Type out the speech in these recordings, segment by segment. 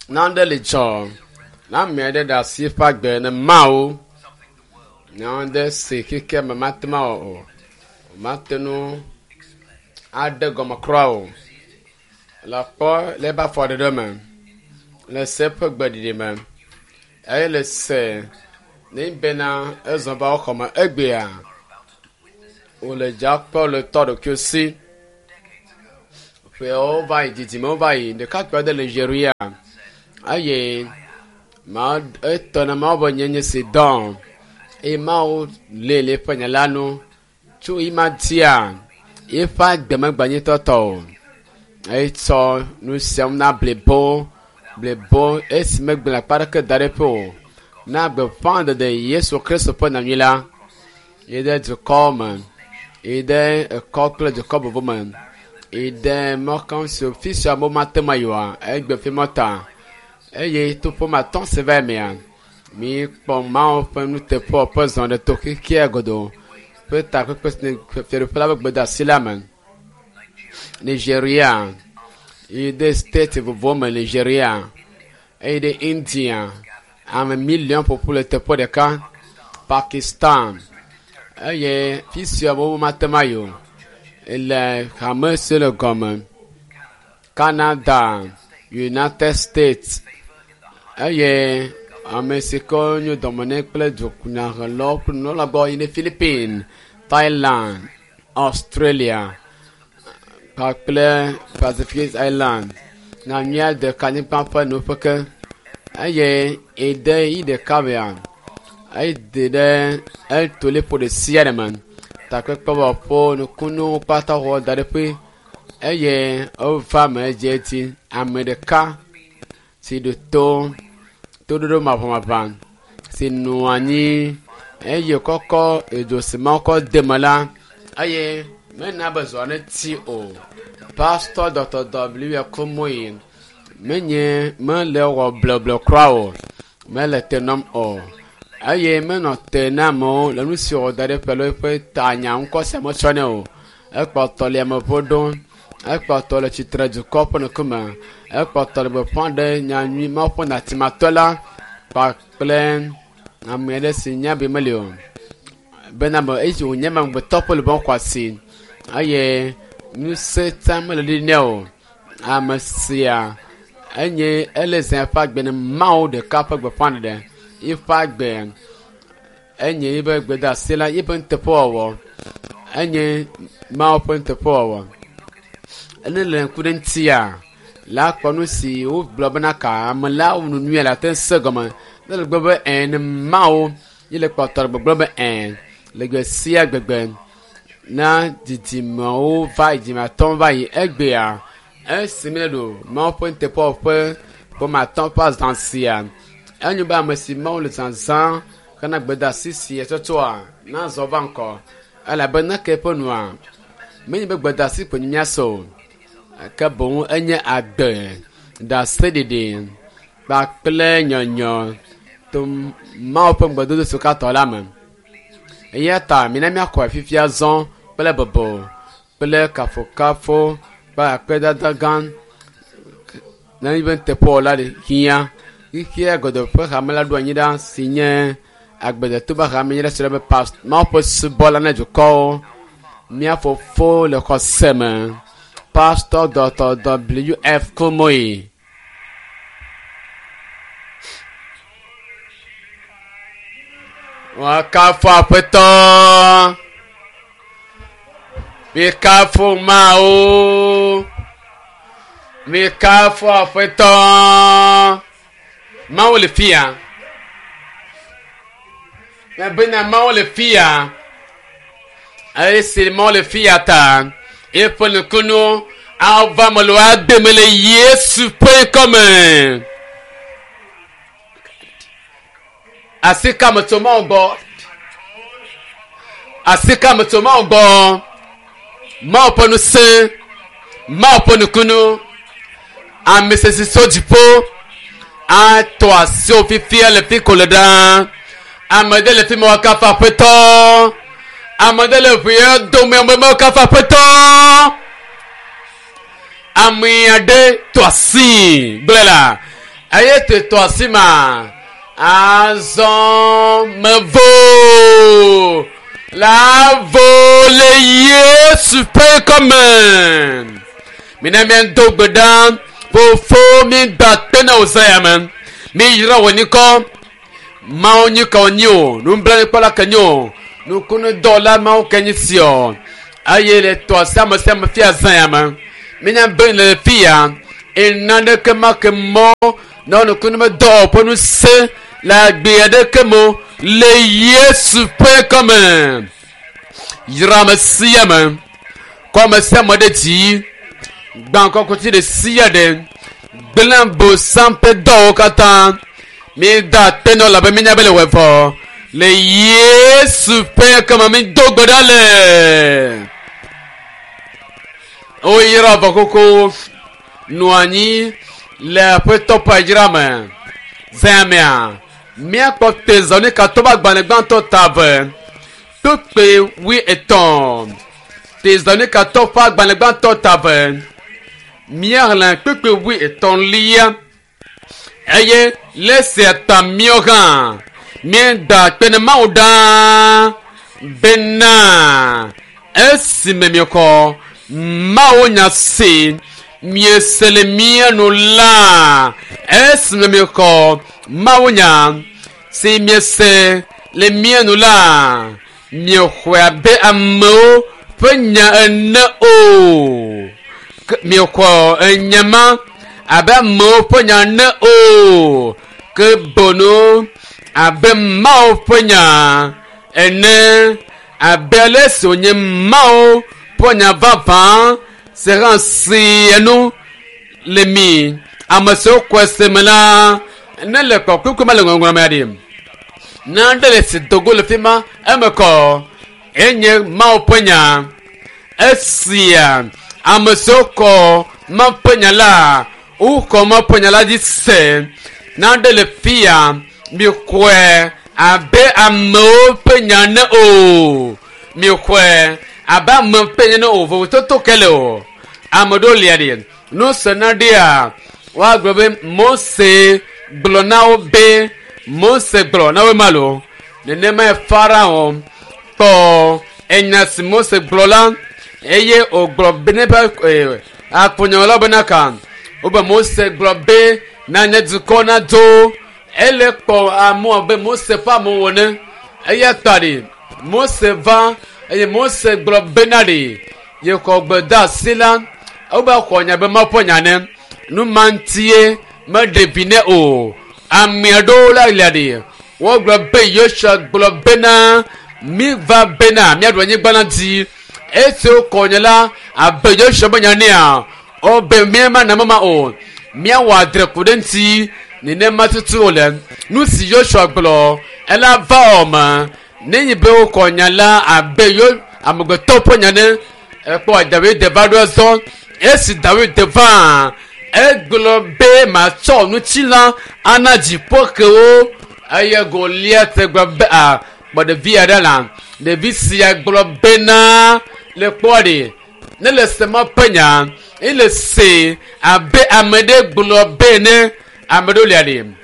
Nane li dzɔ na ame aɖe ɖe asi eƒe agbe ne Mawu. Nane si xexea me mate ŋu awɔ o. Mate ŋu aɖe gɔme kura o. Le kpɔ le eƒe afɔɖeɖe me, le se eƒe gbeɖiɖi me eye le se ne bena ezɔ va wo xɔme egbea wòle dza kpɔ le tɔ ɖokuiwo si. Ƒewo va yi, dzidzimewo va yi, ɖekakpui aɖe le Nigeria eye ma etɔ na Mawu be nye nye si dɔn eye Mawu lé le eƒe nya la nu tso yi ma dzia eƒe agbe megbanyitɔtɔ o. Etsɔ nu siawo na blibo blibo esi megblẽ akpa aɖeke da ɖe eƒe o na gbeƒã ɖeɖe Yesu Kristo ƒe nyanyui la yi ɖe dukɔ me yi ɖe ekɔ kple dukɔ bubu me yi ɖe mɔkɔnso fi sia amewo mate ŋu ayi oa egbe fi mɔ ta eye to ƒome atɔ̃ si va mea mikpɔ Mawu ƒe nuteƒewɔƒe ƒe zɔ ɖe to xexea godoo ƒe takpekpe si fiaɖuƒe la ƒe gbedeasi la me. Nigeria yi ɖe state vovovowo me Nigeria eye ɖe India ame miliɔn ƒoƒu le teƒe ɖeka Pakistan eye fi sia amewo mate ŋu ayi o le hame si le gɔme Canada, United States eye ame si ke nyo dɔme nɛ kple dunyahelawo kple nunɔla gbɔ yi ɖe Philippines, Thailand, Australia kpakple Pacific Island nyanyuia ɖeka anyigba ƒe nuƒe ke eye ede yi ɖeka mea ede ɖe eto liƒo ɖe sia ɖe me takpekpe wɔƒewo nukunuwo kpata wɔ da ɖe ƒe eye wova me edzi ame ɖeka si ɖo to toɖoɖo maʋamaʋã si nɔ anyi eye kɔkɔ edzo si Mawu kɔ de me la eye mena be zɔa neti o. Pastor Dr. W. Kumuyi menye mele wɔ blɔblɔ kura o, mele te nɔm o eye menɔ te na amewo le nu si wòwɔ da ɖe eƒe alo eƒe tanya ŋkɔ sia metsɔ nɛ o. Ekpɔtɔ le ameƒo ɖom, ekpɔtɔ le tsitre dukɔ ƒe ŋkume, ekpɔtɔ le gbeƒã ɖe nyanyui Mawu ƒe natimatɔ la kpakple ame aɖe si nya be meli o bena me esi wònye be amegbetɔ ƒe luʋɔ xɔ asi eye ŋusẽ tsã mele ɖi nɛ o. Ame sia enye ele zã eƒe agbe ne Mawu ɖeka ƒe gbeƒãɖeɖe. Eƒe agbe enye yiƒe gbedeasi la yiƒe nuteƒewɔwɔ enye Mawu ƒe nuteƒewɔwɔ. Ne le ŋku ɖe ŋutia la kpɔ nu si wogblɔ bena ka ame la wɔ nu nyuie la te se gɔme. Ne le gblɔ be ẽ ne Mawu ye le kpɔtɔ le gbɔgblɔ be ẽ le gbe sia gbegbe na didimewo va yi dzime atɔ̃ va yi egbea esi mi le ɖo Mawu ƒe nuteƒewɔwɔ ƒe ƒome atɔ̃ ƒe azã sia enyo be ame si Mawu le zazã hena gbedeasi sia tsɔtsɔa nazɔ va ŋkɔ elabe neke eƒe nua menye be gbedeasi koe míase o ke boŋ enye agbe ɖaseɖiɖi kpakple nyɔnyɔ to Mawu ƒe ŋugbedodo si katã la me. Eya ta mina míaxɔe fifia zɔ kple bɔbɔ kple kafokafo kple akpedada gã ne míbe nuteƒewɔla ɖe hiã. Xexea godoo ƒe hame la ɖo anyi ɖa si nye agbedeto ƒe hame nye ɖe si be past Mawu ƒe subɔla na dukɔwo. Mía fofo le xɔse me. Pastor Dr. W.F. Kumuyi. Woakafu Aƒetɔ. Mikafu Mawu. Mikafu Aƒetɔ. Mawu le fia. Mebena Mawu le fia. Esi Mawu le fia ta, eƒe nukunu ava me le agbe me le Yesu ƒe ŋkɔme. Asi ka me tso Mawu gbɔ? Asi ka me tso Mawu gbɔ? Mawu ƒe ŋusẽ, Mawu ƒe nukunu, ame sesi tso dziƒo atɔ asi wò fifia le fi ko le ɖaa. Ame ɖe le fi ma woakafu Aƒetɔ. Ame ɖe le ʋuia dome ame ma woakafu Aƒetɔ. Ame aɖe tɔ asi gblẽ la. Eye te tɔ asi ma. Azɔ mevo. La vo le Yesu ƒe ŋkɔme. Mina míado gbe ɖa. Fofo mída akpe na wò zã ya me. Míyra wò ŋkɔ. Mawu nyi ka wònyi o. Nublanuikpɔla ke nye o. Nukunudɔwɔla Mawu ke nyi si o. Eye le tɔ asi ame sia ame fia zã ya me. Mínya be le fia ena ɖeke ma ke mɔ na nukunu medɔ ƒe ŋusẽ le agbe aɖeke me o le Yesu ƒe ŋkɔme. Yra ame sia ame. Kɔ ame sia ame ɖe dzi. Gbã kɔkuti ɖe sia ɖe. Gblẽ bosam ƒe dɔwo katã. Míeda akpe na wò elabe mínya be le wɔe vɔ. Le Yesu ƒe ŋkɔme mído gbe ɖa le. Woyra vɔ xoxo. Nɔ anyi le Aƒetɔ ƒe yayra me. Zã mea, míakpɔ Tesalonikatɔwo ƒe agbalẽ gbãtɔ ta eve kpukpui wuietɔ̃. Tesalonikatɔwo ƒe agbalẽ gbãtɔ ta eve. Míaxlẽ kpukpui wuietɔ̃lia eye le esia ta míawo hã míeda akpe na Mawu ɖaa bena esime miexɔ Mawu nya si miese le mía nu la, esime miexɔ Mawu nya si miese le mía nu la, miexɔe abe amewo ƒe nya ene o. Ke miexɔ enya ma abe amewo ƒe nya ene o, ke boŋ abe Mawu ƒe nya ene, abe ale si wònye Mawu ƒe nya vavã si hã si enu le mi ame siwo xɔe se me la, ne le kpɔkpɔkpɔ me le ŋɔŋlɔ mea ɖi. Nane le si dogo le fi ma eme kɔ enye Mawu ƒe nya. Esia ame siwo xɔ Mawu ƒe nya la, woxɔ Mawu ƒe nya la dzi se. Nane le fia mixɔe abe amewo ƒe nya ene o. Mixɔe abe ame ƒe nya ene o. Vovototo ke le o. Ame ɖewo lia ɖi. Nu se na ɖia, woagblɔ be Mose gblɔ na wo be Mose gblɔ na wo ma lo. Nenemae Farao kpɔ enya si Mose gblɔ la eye wògblɔ be ne eƒe akpɔnyawo bena ka. Wobe Mose gblɔ be na nye dukɔ nadzo. Ele kpɔ amewo abe Mose ƒe amewo ene. Eya ta ɖi Mose va eye Mose gblɔ bena ɖi yexɔ gbedeasi la. Wobe xɔ nya be Mawu ƒe nya ne. Nu ma ŋutie meɖe vi nɛ o. Ame aɖewo la lia ɖi. Wogblɔ be Yosua gblɔ bena míva bena míaɖu anyigba la dzi. Esi wokɔ nya la abe Yosua ƒe nya nea, wobe míemana mama o. Míawɔ adre ku ɖe eŋuti. Nenema tutu wòle. Nu si Yosua gblɔ ela va wɔme. Nenye be wokɔ nya la abe yo amegbetɔ ƒe nya ne. Ekpɔ Dawid va ɖo ezɔ. Esi Dawid va, egblɔ be matsɔ ŋutilã ana dziƒoxewo eye Goliat gblɔ be a kpɔ ɖevi aɖe la. Ɖevi sia gblɔ bena le kpɔ ɖi ne le se ma ƒe nya ele se abe ame ɖe gblɔ be ne ame ɖewo lia ɖi.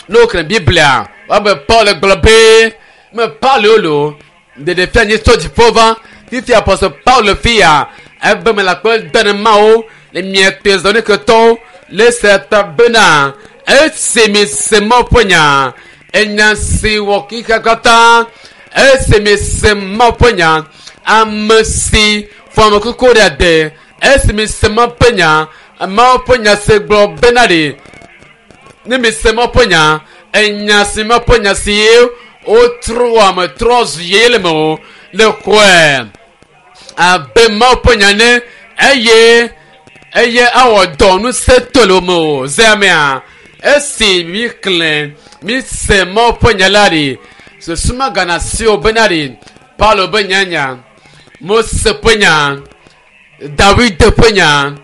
Ne woxlẽ Biblia woabe Paul gblɔ be me Paul wo lo ɖeɖefia nye tso dziƒo va fifia Apostle Paul fia ebe me le akpe de ne Mawu le mia Tesaloniketɔwo le se ta bena esi mi se Mawu ƒe nya enya si wɔ xexea katã esi mi se Mawu ƒe nya ame si fɔ ame kuku ɖe ade esi mi se Mawu ƒe nya Mawu ƒe nya si gblɔ bena ɖi ne mi se Mawu ƒe nya enya si Mawu ƒe nya si wotrɔ ame trɔ zu yeye le me o le xɔe abe Mawu ƒe nya ne eye eye awɔ dɔ ŋusẽ to le wo me o ze amea esi mi xlẽ mi se Mawu ƒe nya la ɖi susu magana si o bena ɖi Paulo be nyanya Mose ƒe nya Dawid ƒe nya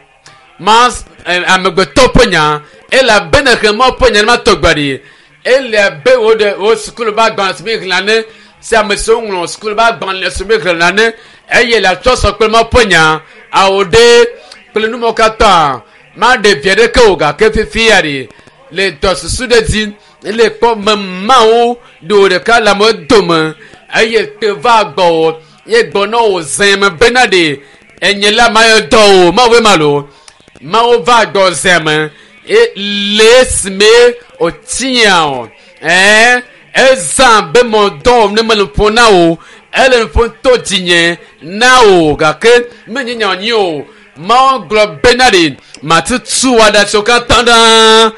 ma amegbetɔ ƒe nya elabena xlẽ Mawu ƒe nya ne ma tɔgbe ɖi ele abe wo ɖe wo sukulu be agbalẽ si mi xlẽna ne si ame siwo ŋlɔ sukulu be agbalẽ si mi xlẽna ne eye le atsɔ sɔ kple Mawu ƒe nya awo ɖe kple numɔwo katã maɖe vi aɖeke o gake fifia ɖi. Le dɔ susu ɖe dzi ele kpɔ me mawo ɖo ɖeka le ame dome eye te va gbɔwò ye gbɔ na wò zẽ me bena ɖe enye la ma yɔ dɔ o mawoe ma lo mawo va gbɔ zẽ me e le esime wòtia o ɛɛ ezã be mɔ dɔ ne mele ƒo na o ele ƒo to dzinye na o gake menye nya nyi o mawo gblɔ bena ɖe matutu aɖatsiwo katã ɖa.